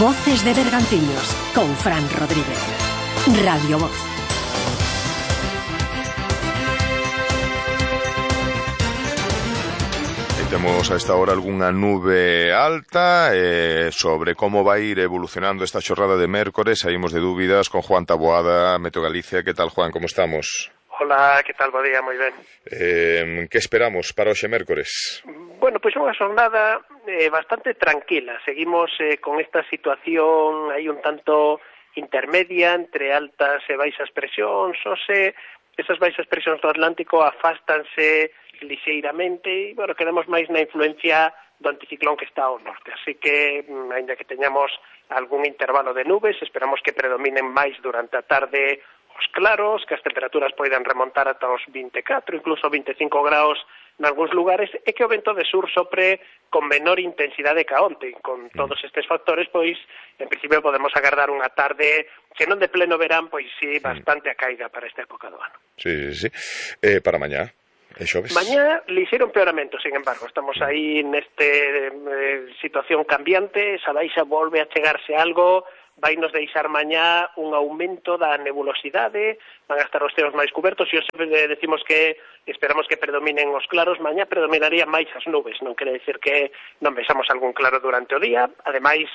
Voces de Bergantiños con Fran Rodríguez. Radio Voz. Temos a esta hora algunha nube alta sobre como vai ir evolucionando esta xornada de mércores. Saímos de dúbidas con Juan Taboada, Meteo Galicia. Que tal, Juan? Como estamos? Hola, que tal? Bo día, moi ben. Que esperamos para hoxe mércores? Bueno, pois unha xornada bastante tranquila. Seguimos con esta situación aí un tanto intermedia entre altas e baixas presións. Esas baixas presións do Atlántico afástanse lixeiramente e, bueno, quedamos máis na influencia do anticiclón que está ao norte. Así que, ainda que teñamos algún intervalo de nubes, esperamos que predominen máis durante a tarde os claros, que as temperaturas poidan remontar ata os 24, incluso 25 graus nalgúns lugares, e que o vento de sur sopre con menor intensidade que onte. Con todos estes factores, pois, en principio podemos agardar unha tarde que non de pleno verán, pois sí, bastante acaiga para esta época do ano. Sí. Para mañá? Mañá, lixeiro empeoramento, sin embargo. Estamos aí neste situación cambiante, esa baixa volve a chegarse algo, vai nos deixar mañá un aumento da nebulosidade, van a estar os ceos máis cubertos, e decimos que esperamos que predominen os claros. Mañá predominaría máis as nubes, non quere decir que non vexamos algún claro durante o día. Ademais,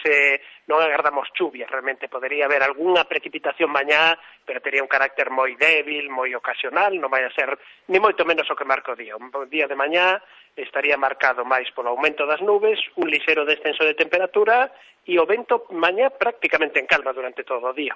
non agardamos chuvia, realmente podería haber algunha precipitación mañá, pero tería un carácter moi débil, moi ocasional, non vai a ser ni moito menos o que marca o día. Un día de mañá estaría marcado máis polo aumento das nubes, un lixeiro descenso de temperatura e o vento mañá prácticamente en calma durante todo o día.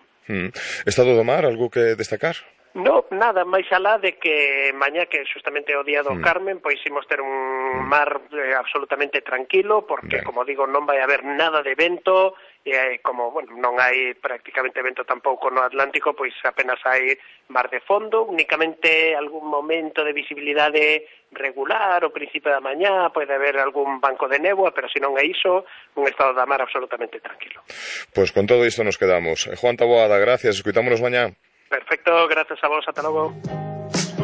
Estado do mar, algo que destacar? No, nada, máis alá de que mañá, que justamente o día do Carmen, pois imos ter un mar absolutamente tranquilo, porque, como digo, non vai haber nada de vento, e como, bueno, non hai prácticamente vento tampouco no Atlántico, pois apenas hai mar de fondo, únicamente algún momento de visibilidade regular, o principio da mañá, pode haber algún banco de néboa, pero se non é iso, un estado da mar absolutamente tranquilo. Pois con todo isto nos quedamos. Juan Taboada, gracias, escuitámonos mañá. Perfecto, gracias a vos, ata logo.